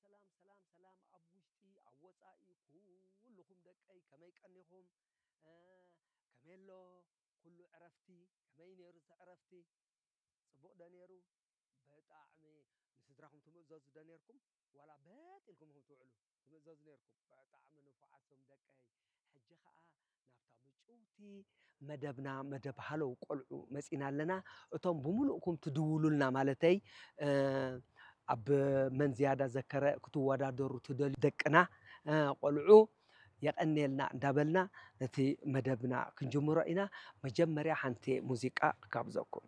ሰላም፣ ሰላም፣ ሰላም፣ ኣብ ውሽጢ፣ ኣብ ወጻኢ፣ ኩልኹም ደቀይ፣ ከመይ ቀኒኹም? እ፣ ከመይ ኣሎ? ኩሉ ዕረፍቲ፣ ከመይ ነይሩ እቲ ዕረፍቲ? ጽቡቕ ዶ ነይሩ? ብጣዕሚ ንስድራኹም ትምእዘዙ ዶ ነይርኩም? ዋላ በጥ ኢልኩም ኢኹም ትውዕሉ? ትምእዘዙ ነይርኩም? ብጣዕሚ ንፉዓት ቶም ደቀይ። ሕጂ ኸኣ ናብታ ምጭውቲ መደብና፣ መደብ ሃለው ቆልዑ መጺና ኣለና። እቶም ብምሉእኩም ትድውሉልና ማለተይ፣ እ፣ ኣብ መን ዝያዳ ዘከረ ክትወዳደሩ ትደልዩ ደቅና፣ እ፣ ቆልዑ የቐንየልና እንዳበልና ነቲ መደብና ክንጅምሮ ኢና። መጀመርያ ሓንቲ ሙዚቃ ክጋብዘኩም።